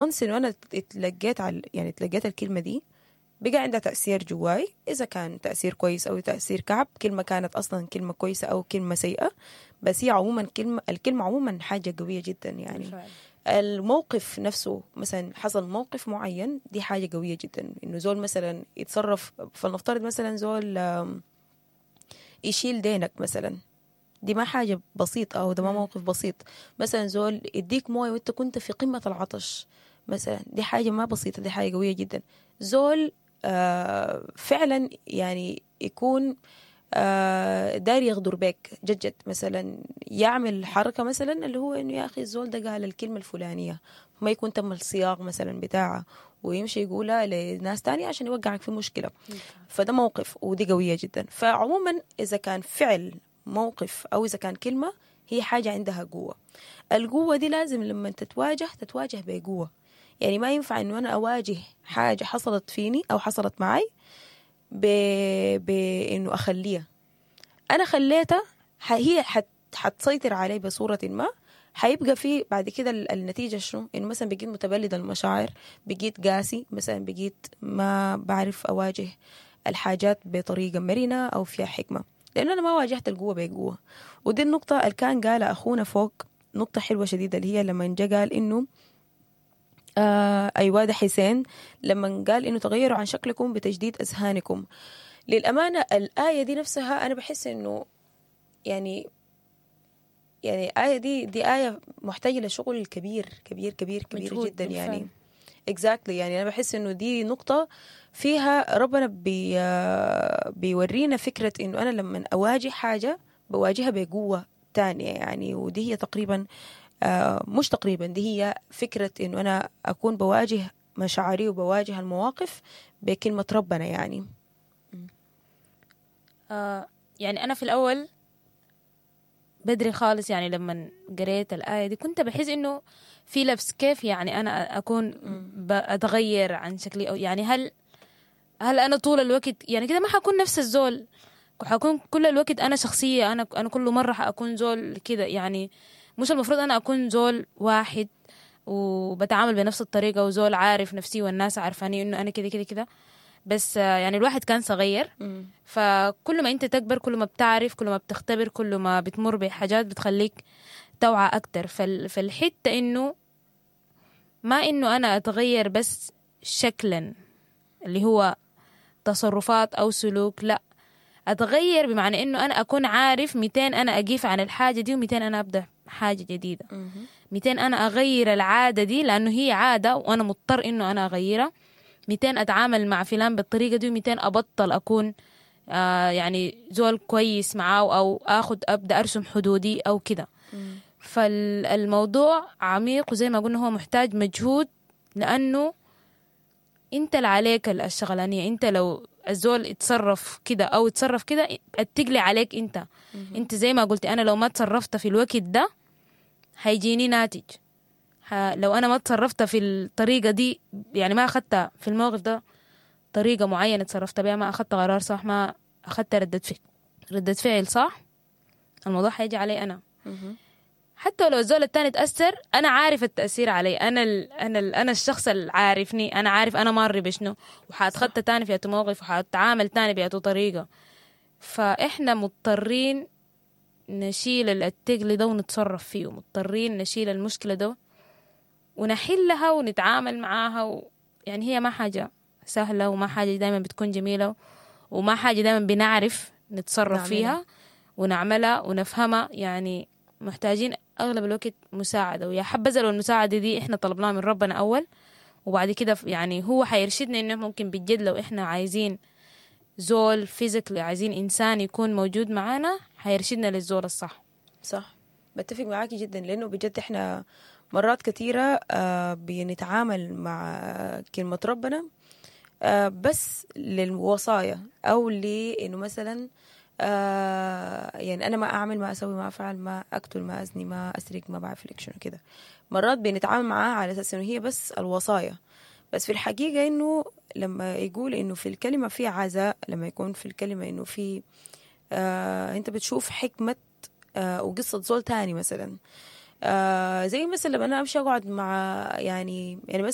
Once انو انا اتلقيت يعني اتلقيت الكلمة دي بقى عندها تأثير جواي، اذا كان تأثير كويس او تأثير كعب، كلمة كانت اصلا كلمة كويسة او كلمة سيئة، بس هي عموما كلمة، الكلمة عموما حاجة قوية جدا يعني. الموقف نفسه مثلا حصل موقف معين دي حاجة قوية جدا، انه زول مثلا يتصرف، فلنفترض مثلا زول يشيل دينك مثلا، دي ما حاجة بسيطة او ده ما موقف بسيط. مثلا زول يديك موية وانت كنت في قمة العطش مثلا، دي حاجة ما بسيطة، دي حاجة قوية جدا. زول فعلا يعني يكون داير يغدر بك جد جد، مثلا يعمل حركة مثلا اللي هو انه يا اخي الزول ده قال الكلمة الفلانية ما يكون تم الصياغ مثلا بتاعها ويمشي يقولها لناس تانية عشان يوقعك في مشكلة. فده موقف ودي قوية جدا. فعموما إذا كان فعل موقف أو إذا كان كلمة هي حاجة عندها قوة. القوة دي لازم لما تتواجه تتواجه بقوة. يعني ما ينفع إنه أنا أواجه حاجة حصلت فيني أو حصلت معي بإنه أخليها. أنا خليتها هي حتسيطر علي بصورة ما، حيبقى في بعد كده النتيجة شنو؟ إنه مثلا بقيت متبلد المشاعر، بقيت قاسي، مثلا بقيت ما بعرف أواجه الحاجات بطريقة مرنة أو فيها حكمة، لأنه أنا ما واجهت القوة بقوة. ودي النقطة اللي كان قالها أخونا فوق، نقطة حلوة شديدة، اللي هي لما جا قال إنه أيوة ده حسين، لما قال إنه تغيروا عن شكلكم بتجديد أذهانكم. للأمانة الآية دي نفسها أنا بحس إنه يعني الآية دي آية محتاجة لشغل كبير كبير كبير كبير جدا يعني. Exactly. يعني أنا بحس إنه دي نقطة فيها ربنا بيورينا فكرة إنه أنا لما أواجه حاجة بواجهها بقوة تانية يعني. ودي هي تقريبا مش تقريبا، دي هي فكرة إنه أنا أكون بواجه مشاعري وبواجه المواقف بكلمة ربنا يعني. يعني أنا في الأول بدري خالص يعني لما قريت الآية دي كنت بحس إنه في لبس، كيف يعني أنا أكون بأتغير عن شكلي، أو يعني هل أنا طول الوقت يعني كده ما حكون نفس الزول، حكون كل الوقت أنا شخصية، أنا كل مرة حأكون زول كده يعني. مش المفروض أنا أكون زول واحد وبتعامل بنفس الطريقة وزول عارف نفسي والناس عارفاني إنه أنا كده كده كده. بس يعني الواحد كان صغير، فكل ما أنت تكبر كل ما بتعرف، كل ما بتختبر، كل ما بتمر بحاجات بتخليك توعى أكتر. فالحتة إنه ما إنه أنا أتغير بس شكلا اللي هو تصرفات أو سلوك، لا أتغير بمعنى إنه أنا أكون عارف 200 أنا أقيف عن الحاجة دي و200 أنا أبدأ حاجة جديدة، 200 أنا أغير العادة دي لأنه هي عادة وأنا مضطر إنه أنا أغيرها، 200 أتعامل مع فلان بالطريقة دي، و200 أبطل أكون يعني زول كويس معاه، أو أخد أبدأ أرسم حدودي أو كده. فالموضوع عميق وزي ما قلنا هو محتاج مجهود، لأنه أنت اللي عليك الشغلانية. أنت لو الزول اتصرف كده أو اتصرف كده التقلي عليك أنت. أنت زي ما قلت أنا لو ما تصرفت في الوقت ده هيجيني ناتج، لو أنا ما تصرفت في الطريقة دي، يعني ما أخذت في الموقف ده طريقة معينة تصرفت بها، ما أخذت قرار صح، ما أخذت ردة فعل صح، الموضوع هيجي علي أنا. حتى لو الزول التاني تأثر أنا عارف التأثير علي أنا، أنا الشخص اللي عارفني، أنا عارف أنا ماري بشنو، وحاتخطى تاني في موقف، وحاتعامل تاني بأتو طريقة. فإحنا مضطرين نشيل التقل ده ونتصرف فيه، مضطرين نشيل المشكلة ده ونحلها ونتعامل معاها يعني هي ما حاجة سهلة، وما حاجة دايما بتكون جميلة، وما حاجة دايما بنعرف نتصرف فيها ونعملها ونفهمها. يعني محتاجين أغلب الوقت مساعدة، ويا حبذا لو المساعدة دي إحنا طلبناها من ربنا أول، وبعد كده يعني هو حيرشدنا إنه ممكن بجد لو إحنا عايزين زول physically، عايزين إنسان يكون موجود معانا، حيرشدنا للزول الصح. صح، بتفق معاكي جدا، لأنه بجد إحنا مرات كثيرة بنتعامل مع كلمة ربنا بس للوصايا، أو لإنه مثلا يعني أنا ما أعمل، ما أسوي، ما أفعل، ما أقتل، ما أزني، ما أسرق، ما بعرف لك شنو كده. مرات بنتعامل معاها على أساس إنه هي بس الوصايا، بس في الحقيقة إنه لما يقول إنه في الكلمة في عزاء، لما يكون في الكلمة إنه في أنت بتشوف حكمة وقصة زول تاني مثلا. زي مثلا لما انا امشي اقعد مع يعني مثلا